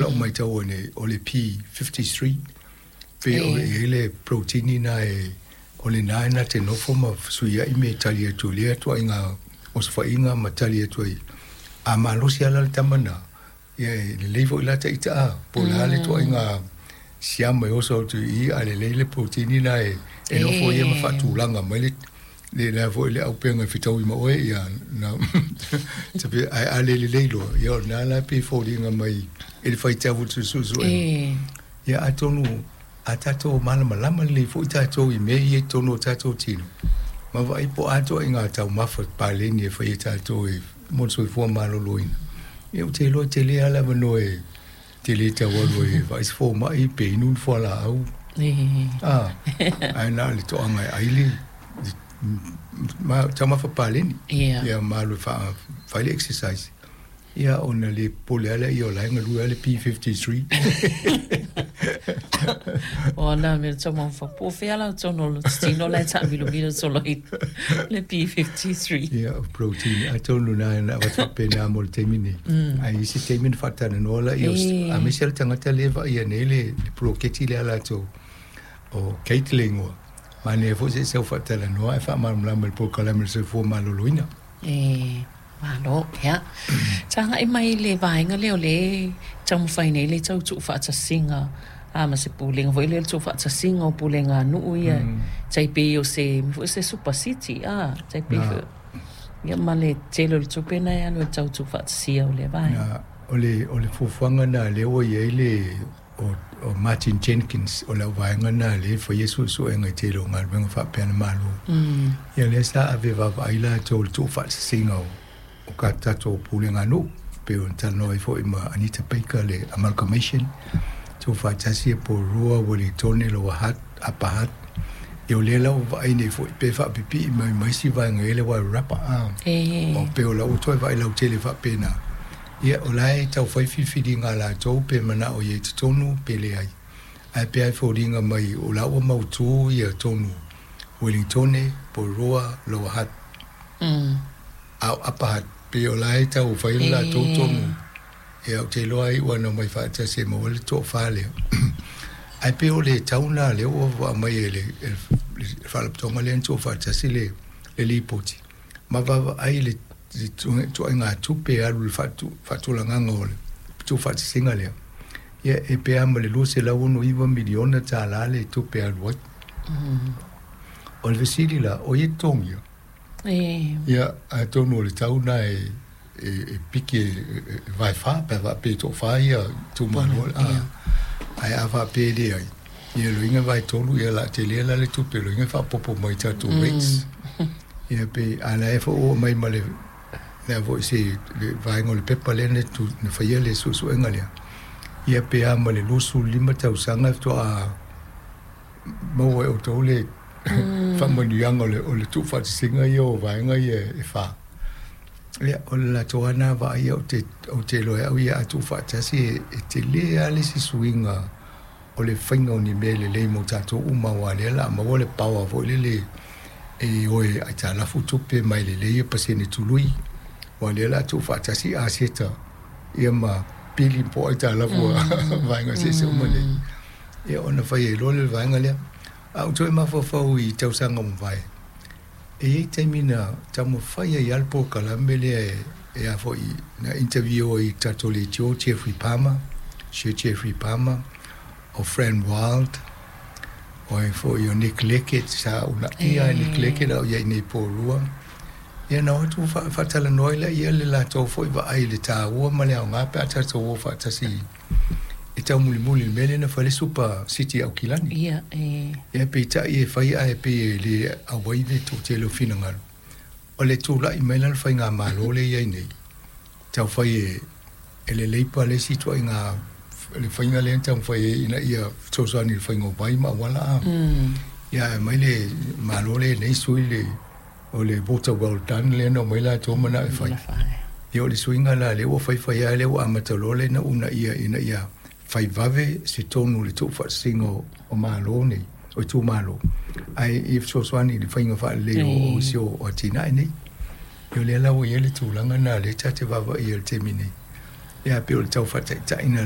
lau matau nei o le P53 pei o e i ai le protein na e o lena e na te nofo ma fesuiai me tali atu i lea ituaiga osofaiga ma tali atu ai. A malosi lava la le tama lena, ia e lelei foi la ta ita a, po o le a le ituaiga siama e oso atu i i, a lelei le protein lena e nofo ia ma faatulaga mai le le la foi le auupega e fetaui ma oe, ia na ae a le lelei loa, ia o lena la e pei e foliga mai i le faitau o le suesuega. Ia atonu a tatou malamalama lelei foi tatou i mea ia i totonu o tatou tino, ma vaai po o a ituaiga taumafa paleni e fai e tatou e mo le soifua maloloina. Ia ou te iloa e tele lava le avanoa e te le tau alu ai e vaai se fomai pe inu ni fualaau. Ae na o le toaga e ai le taumafa paleni. Ia ma alu e fai le exercise. Ia ona le popole lava lea o la e galue lava le P53. O ana mea taumafa. Po o fea la totonu o le tino la e taamilomilo solo i le P53. Ia, o protein. Atonu na na avatu faapena mo le taimi nei. Ae i isi taimi na faatalanoa laia o aemaise le tagata lea e vaaia nei le poloketi lea a latou o Kate le igoa. Manaia foi se i sau faatalanoa ae faamalamalama i le polokalame o le soifua maloloina. E malo, ia. Tagai mai i le vaega lea o lea e taumafai nei le tau tuufaatasiga a ma se pulega foi lea le tuufaatasiga o pulega a nuu ia tai pei o se mea foi se super city a tai pei foi ia ma le tele o le tupe na e alu e tau tuufaatasia o lea vaega. O le fuafuaga na lea ua i ai le o Martin Jenkins o le auvaega na lea e faia suesuega i tele o galuega faapea le Malo. Ia lea sa ave vaavaai latou i le tuufaatasiga o ka tatou pulega nuu pei ona talanoa ai foi ma Anita Baker le amalgamation tuufaatasi e Porirua, Ueligitone, Lower Hutt, Upper Hutt. Ia o lea la ua vaai nei foi pe faapipii mai ma isi vaega i le Wairarapa a. O pei o la ua toe vaai lautele faapena. Ia o la e taufai filifiliga a latou pe manao i ai totonu pe leai. Ae pei lava e foliga mai o la ua mautu ia tonu Ueligitone, Porirua, Lower Hutt. A o Upper Hutt pei o la e tau fai le latou tonu. Ia ou te iloa ai ua na omai faatasi e maua ai le toafa lea. Ae pei o le tau lena lea ua aumai e le faalapotopotoga lea na tuufaatasi le lipoti ma vaavaai i le ituaiga tupe e alu i le faatulagaga o le tuufaatasiga lea. Ia e pe a ma le $269 miliona tala le tupe e alu ai. O le fesili la, o ai e totogia? Ia atonu o le tau lena e piki e vaefa pe a faapea e toafa ia itumalo. Ae a faapea e leai, ia loiga vaetolu ia o le a tele la le tupe loiga e faaopoopo mai i tatou rates. Ia pe a la e foi ua aumai ma le lea foi se le vaega o le pepa lea na faia le suesuega lea. Ia pe a ma le 25 tausaga faatoa maua e outou le faamanuiaga o le tuufaatasiga ia o vaega ia e fa. Ia, o le latou lava na vaai ou te iloa e au ia a tuufaatasi e tele lava le isi suiga o le faiga o ni mea lelei mo tatou uma aua lea o le a maua le power foi lele e o e aitalafu tupe mai lelei ia pasene tului aua lea o le a tuufaatasi aseta ia ma pili po o aitalafu a vaega eseese uma nei. Ia ona fai ai loa lea o le vaega lea. Ae ou toe mafaufau i tausaga ua mavae, e i ai taimi na taumafai ai lava le polokalame lea e a foi na interview ai i tatou leitio Jeffrey Palmer, Sir Jeffrey Palmer, o Fran Wilde, o ai foi o Nick Leckett, sa uunaia e Nick Leckett a o i ai nei i Porirua. Ia na o atu faatalanoa ai laia le latou foi vaai i le taua ma le aoga pe a tatou o faatasi e taumulimuli i le mea lea na fai le Super City i Aukilani. Ia, e. Ia peitai e fai ae pei e le auai le toatele o finagalo. O le tulai mai la le faigamalo lea e i ai nei, taufai e le Labour le isi ituaiga le faiga lea na taumafai ai ina ia fesoasoani i le faiga o vai ma auala a. Ia ae aumai le Malo lea nei sui le o le water well done lea na omai latou manao e fai. Ia o le suiga la lea ua faifai lava lea ua amata loa lea na uunaia ina ia fai vave se tonu o le tuufaatasiga o Malo nei, o itumalo, ae ia fesoasoani i le faiga faalelei o isi o atinae nei. Ia o lea la ua i ai le tulaga lena lea ta te vaavaai i ai i le taimi nei. Ia pei o le tau faataitaiga